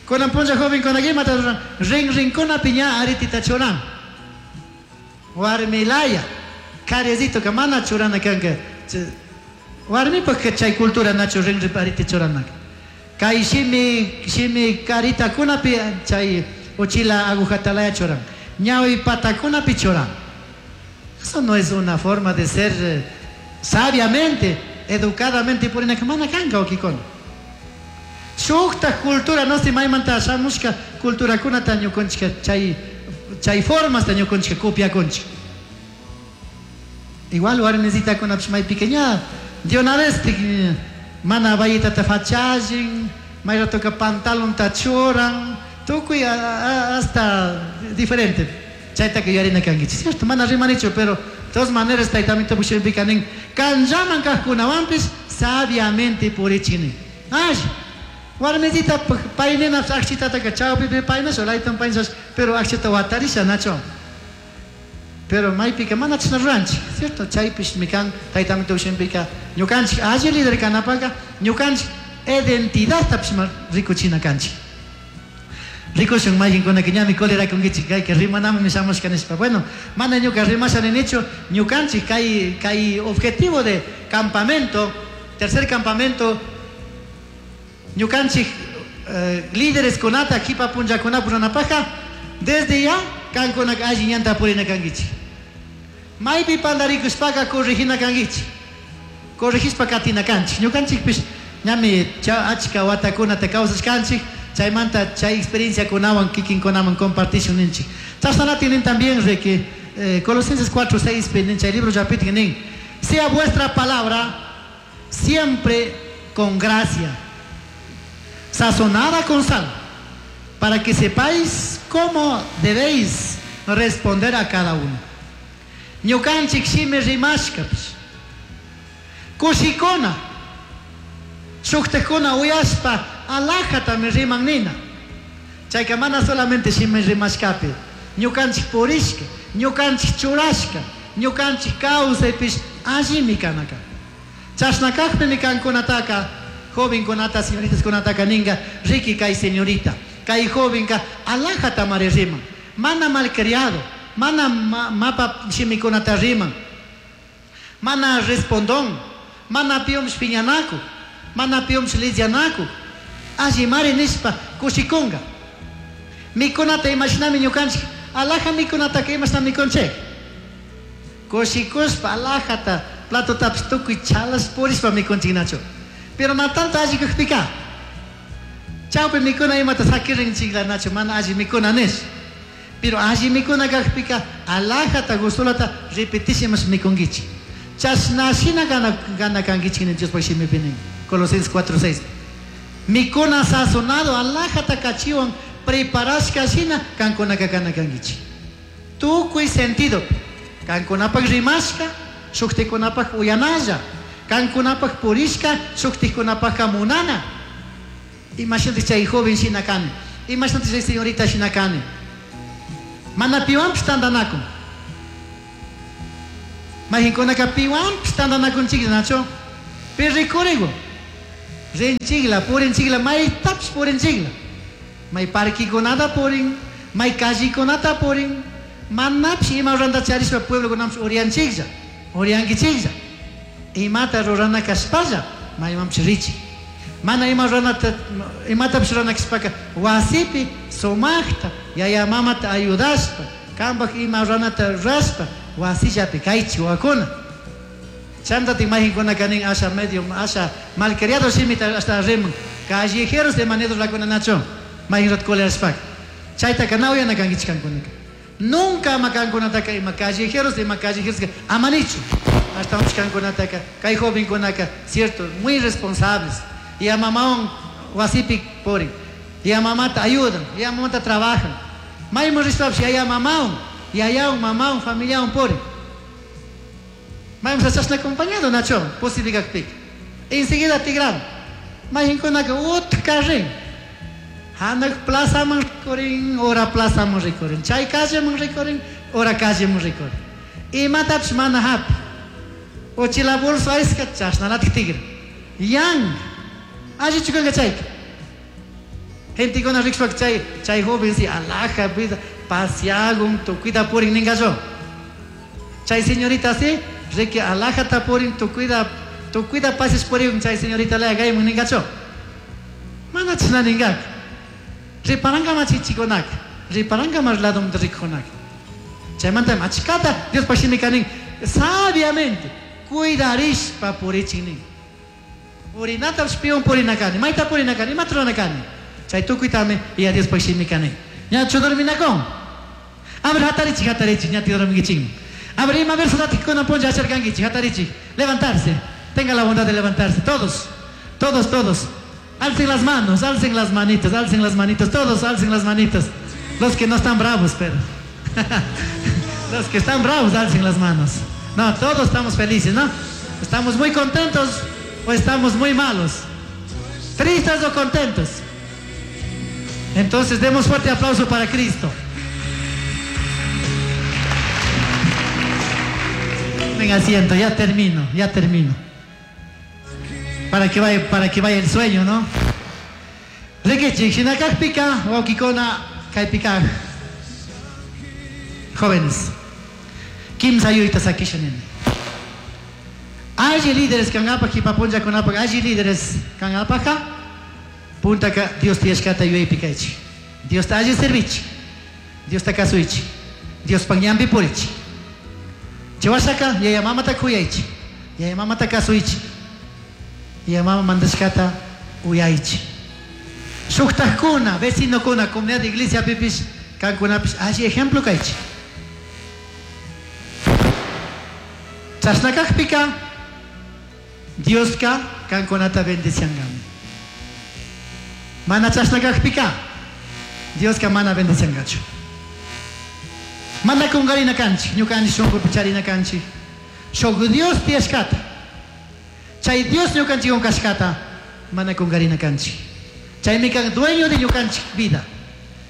Kunan punlla jovencunaka imata ruran? Rin rinkunapi ña aritita churan. Warmilaya. Karecito mana churana kanka. Warmipaj chay cultura nachu rin rin ariti churanaka. Kay shimi, shimi karitakunapi chay uchila agujatalaya churan. Ñawi patakunapi churan. Eso no es una forma de ser sabiamente, educadamente purina mana kanka okikona. Shukta cultura no si maymanta shamushka culturakunata ñukunchika chay, chay formas ta ñukunchika copiakunchika. Igual warmisitakunapish maypika ña de una vez te, mana bayitata fachallin, may ratoka pantalonta churan, tukuy hasta diferente. Chaytaka yuyarina kankichik, cierto? Mana rimanichu, pero de todas maneras taytamito pushipika nin, kanllaman kajkunawanpish sabiamente purichik Ay, warmisita paynina akchitataka chawpipi paynasha, laytan paynasha, pero akchita watarisha, nacho. Pero maypika mana chashna ruranchik, cierto? Chaypish mikan taytamito pushipika ñukanchik alli líder kanapaka ñukanchik identidadtapish rikuchina kanchik. Rikushun mayqinkunaka ñami cólera kunkichik kayka rimanamanmi shamushka nishpa. Bueno, mana ñuka rimasha ninichu, ñukanchik kay, kay objetivo de campamento, tercer campamento, ñukanchik líderes kunata kipa punllakunapi runapajka, desde ya kankunaka alli ñanta purina kankichik. Maypi pandarikushpaka corregina kankichik. Corregishpa katina kanchik. Ñukanchikpish ñami achka watakunata kawsashkanchik, chaymanta chay experiencia kunawan kikinkunaman compartishun ninchik. Chashnalatik nin también de que Colosenses 4, 6, nin chay libro llapitik nin, sea vuestra palabra siempre con gracia, sazonada con sal, para que sepáis cómo debéis responder a cada uno. Ñukanchik shimi rimashkapish, kushikuna, shuktakuna uyashpa alajatami riman nina. Chayka mana solamente shimi rimashkapi, ñukanchik purishka, ñukanchik churashka, ñukanchik kawsaypish allimi kanaka. Chashna kajpimi kankunataka, jovenkunata, señoritas kunataka ninga, riki kay señorita, kay jovenka alajatamari riman, mana malcriado, mana mapa shimikunata riman, mana respondón, mana piomsh piñanaku, mana piomsh lidianaku, allimari nishpa kushikunga. Mikunata imashinami ñukanchik, alaja mikunataka imashna mikunchik. Kushikushpa alajata platotapis tukuy chalas purishpa mikunchik nachu. Pero na tanto alli kajpika, chawpi mikuna imata sakirinchikla nachu, mana alli mikuna nish. Pero alli mikuna kajpika, alajata gustolata repetishimash mikunkichik. Chashna shina gana kankichik nin Diospaj shimipi nin. Colosenses 4, 6. Mikuna sazonado, alajata kachiwan preparashka shina kankunaka kana kankichik. Tukuy sentido. Kankunapak rimashka, Shujticunapaj uyanalla. Cancunapaj purishca shujticunapajca munana. Imashinataj chay joven shina cani. Imashinataj chay señorita shina cani. Mana piwanpish tandanacun. Mayqinkunaka piwanpish tandanakunchiklla, nachu? Pi rikurigun. Rinchikla, purinchikla, maytapish purinchikla. May parquekunata purin, may callekunata purin, manapish ima ruranta charishpa pueblokunapish uriyanchiklla, uriyankichiklla. Imata rurana kashpalla maymanpish richik. Mana ima ruranata, imatapish rurana kashpaka wasipi sumajta yaya mamata ayudashpa, kambaj ima ruranata rurashpa wasillapi kaychik wawakuna. Chantatik mayqinkunaka nin asha medio asha malcriado shimita ashta riman callejeros ima nidurlakuna nachu mayqin rato colerashpaka. Chaytaka na uyana kankichik kankunaka. Nunca ama kankunataka ima callejeros ima callejeros ama nichu. Ashtawanpish kankunataka kay jovenkunaka cierto muy responsables. Ya mamawan wasipi purin. Ya mamata ayudan, ya mamata trabajan. Mayman rishpapish yaya mamawan, yayawan, mamawan, familiawan purin. Mayman chashna acompañado nachu posible kakpika. Enseguida tigran. Mayqinkunaka utka rin. Hanaq plazaman rikurin, ura plazaman rikurin. Chay calleman rikurin, ura calleman rikurin. Imatapish mana hapi. Uchila bolso aysqa chashnalatik tigran. Yan. Allichu kanka chayka. Gentekuna rikushpaka chay, chay joven si alhaja vida pasiagun tukuyta purin ninkachu. Chay señorita si riki alhajata purin tukuyta, tukuyta pasiash purigun chay señorita laya kayman ninkachu. Mana chashna ninkaka. Riparanka chichikunaka, riparanka mas ladomanta rikujunaka. Chaymanta achkata Diospaj shimika nin, sabiamente cuidarishpa purichin nin. Purinatapish piwan purina kani, mayta purina kani, imata rurana kani. Chay tukuytami ya Diospaj shimika nin. Ñachu dorminakun? A ver, hatarichik, hatarichik, ña dorminkichikman. A ver, ima versotatik kunan punlla acharkankichik, hatarichik. Levantarse, tenga la bondad de levantarse, todos, todos, todos. Alcen las manos, alcen las manitas, alcen las manitas, todos alcen las manitas. Los que no están bravos, pero. Los que están bravos, alcen las manos. No, todos estamos felices, ¿no? Estamos muy contentos o estamos muy malos. Tristes o contentos. Entonces demos fuerte aplauso para Cristo. Tomen asiento, ya termino, ya termino. Para que vaya el sueño, ¿no? Rikichik, shinakajpika, wawkikuna, kaypika. Jóvenes, kimsa yuyta sakisha nini. Alli líderes kangapak, jipapunllakunapak, alli líderes kangapajka, puntaka Dios tiyashkata yuyaypi kaychik. Diosta alli servichik, Diosta kasuychik, Diospaj ñanpi purichik. Chay yaya mamata kuyaychik, yaya mamata kasuychik, yaya mama mandashkata uyaychik. Shuktajkuna, vecinokuna, comunidad de iglesia pipish, kankunapish, alli ejemplo kaychik. Chashna kakpika, Dioska kankunata bendiciangami. Mana chashna kakpika, Dioska mana bendiciangachu. Mana kungarina kanchik, ñukanchik shunkupi charina kanchik. Shuk Dios tiyashkata. Chay Dios ñukanchikwan kashkata, mana kungarina kanchik. Chaymi kan dueño de ñukanchik vida,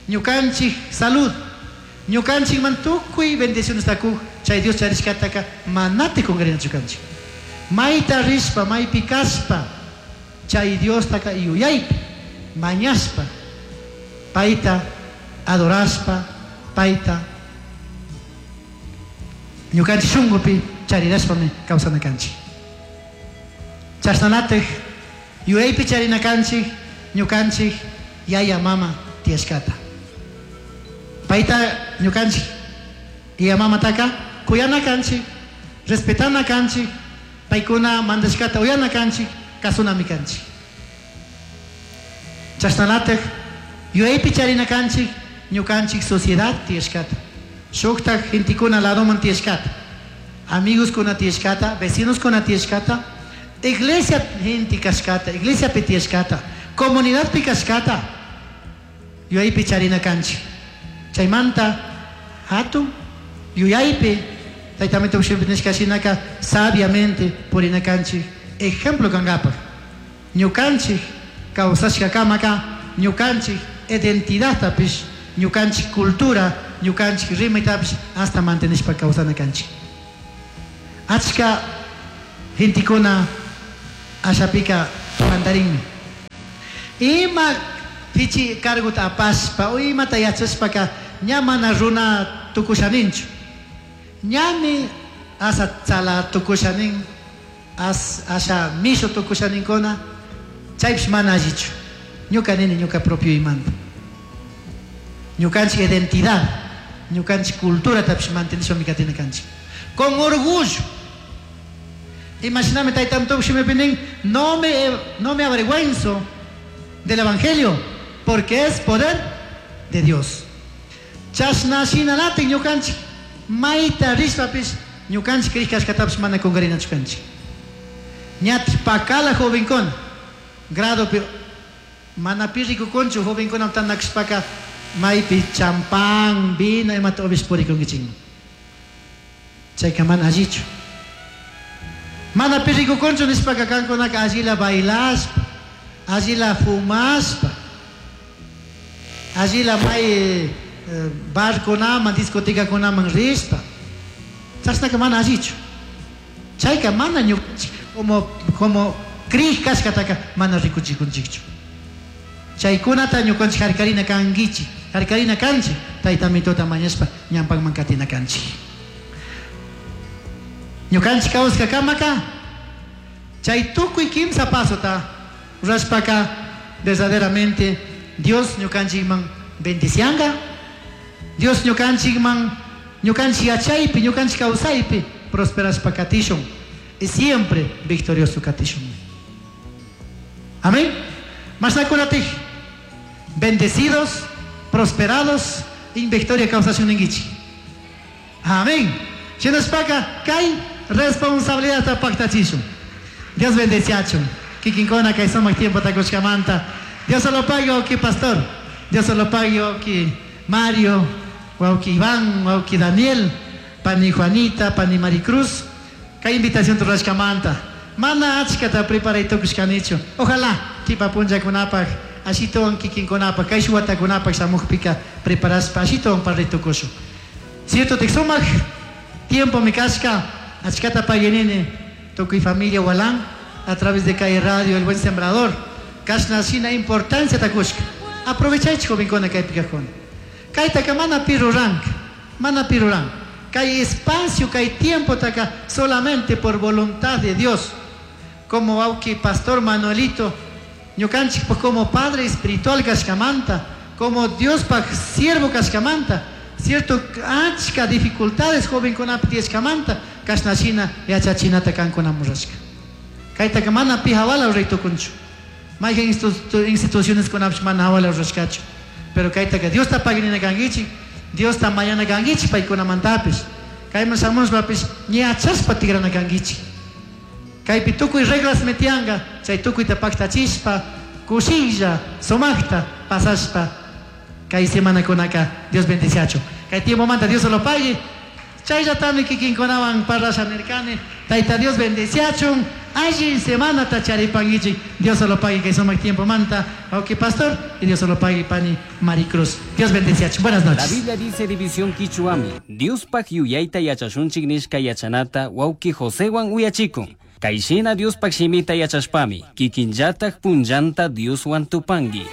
ñukanchik salud, ñukanchikman tukuy bendiciones takuj, chay Dios charishkataka manati kungarinachu kanchik. Mayta rishpa, maypi kashpa, chay Diostaka yuyaypi, mañashpa, payta adorashpa, payta ñukanchik shunkupi charirashpami kawsana kanchik. Chashnalatik yuyaypi charina kanchik, ñukanchik yaya mama tiyashkata. Payta ñukanchik yaya mamataka kuyana kanchik, respetana kanchik, paykuna mandashkata uyana kanchik, kasunami kanchik. Chashnalatik yuyaypi charina kanchik, ñukanchik sociedad tiyashkata. Shuktak gentekuna ladoman tiyashkata, amigos kuna tiyashkata, vecinos kuna tiyashkata, iglesia gente kashkata, iglesia pi tiyashkata, comunidad pi kashkata, yuyaypi charina kanchik. Chaymanta hatun yuyaypi Tayta nishka shinaka sabiamente purina kanchik ejemplo kankapak. Ñukanchik kawsashkakamaka ñukanchik identidadtapish, ñukanchik cultura, ñukanchik rimaytapish hasta mantenishpa kawsana kanchik. Achka gentekuna ashapika pantarinmi. Ima pichi cargota apashpa o imata yachashpaka ña mana runa tukushaninchu. Ñami asa tzala tukushanin, asha mishu tukushaninkuna, chaypish mana allichu. Ñuka nini ñuka propio imanta. Ñukanchik identidad, ñukanchik culturatapish mantenishpami katina kanchik. Con orgullo. Imashinami tayta shimipi nin, no me avergüenzo del evangelio, porque es poder de Dios. Chashna shinalatik ñukanchik mayta rishpapish ñukanchik rishkashkatapish mana kunkarinachu kanchik. Ñatik pakala jovenkuna gradopi mana pi rikukunchu jovenkuna tandakashpaka maypi champán, vino imata upish purikunkichikman. Chayka mana allichu. Mana pi rikukunchu nishpaka kankunaka allila bailashpa, allila fumashpa, allila may barkunaman, discotecakunaman rishpa. Chashnaka mana allichu. Chayka mana ñukanchik como krij kashkataka mana rikuchikunchikchu. Chaykunata ñukanchik harkarina kankichik, harkarina kanchik, tayta mitota mañashpa ñampakman katina kanchik. Ñukanchik kawsakakamaka chay tukuy kimsa pasota rurashpaka verdaderamente Dios ñukanchikman bendicianga, Dios ñukanchikman ñukanchik yachaypi, ñukanchik kawsaypi prosperashpa katishun y siempre victorioso katishun. Amén. Mashnakunatik bendecidos, prosperados, in victoria kawsashun ninkichik. Amén. Shinashpaka kay responsabilidad paktachishun. Dios bendeciachun. Kikinkuna kay sumak tiempo takushkamanta. Dios se lo pague, wawki pastor. Dios se lo pague, wawki Mario, wawki Iván, wawki Daniel, pani Juanita, pani Maricruz. Kay invitación rurashkamanta. Mana achkata preparay tukushkanichu. Ojalá kipa punllakunapaq ashituwan kikinkunapaq kay watakunapaq shamukpika preparashpa ashituwan parlay tukushun. Cierto tik sumak tiempo mi kashka achkata paguinini tukuy familia Walán a través de Calle Radio El Buen Sembrador. Kashna shina importancia takushka. Aprovechaychik jovenkuna kaypi kajkuna. Kaytaka mana pi ruranka, mana pi ruranka. Kay espacio, kay tiempo taka solamente por voluntad de Dios. Como wawki pastor Manuelito, ñukanchik pues como padre espiritual kashkamanta, como Dios pa siervo kashkamanta, cierto achka dificultades jovenkunapi tiyashkamanta, kashna shina yachachinata kankuna murashka. Kaytaka mana pi hawala ruray tukunchu. Mayqin instituciones kunapish mana hawala rurashkachu. Pero kaytaka Diosta paginina kankichik, Diosta mañana kankichik paykunamantapish. Kayman shamushpapish ñachashpa tigrana kankichik. Kaypi tukuy reglas metianga, chay tukuyta paktachishpa, kushilla, sumaqta pasashpa, kay semanakunaka Dios bendiciachu. Kay tiempomanta Dios lo pague. Chayllatami kikinkunawan parlasha nirkani, Tayta Dios bendiciachun, alli semanata charipankichik, Dios lo pague kay sumaq tiempomanta, wawki pastor, y Dios lo pague pani Maricruz. Dios bendiciachun. Buenas noches. La Biblia dice división kichuami, Diospaj yuyayta yachashunchik nishka yachanata wawki Josewan uyachikun. Kayshina Diospaj shimita yachashpami, kikinllataj punllanta Dioswan tupanki.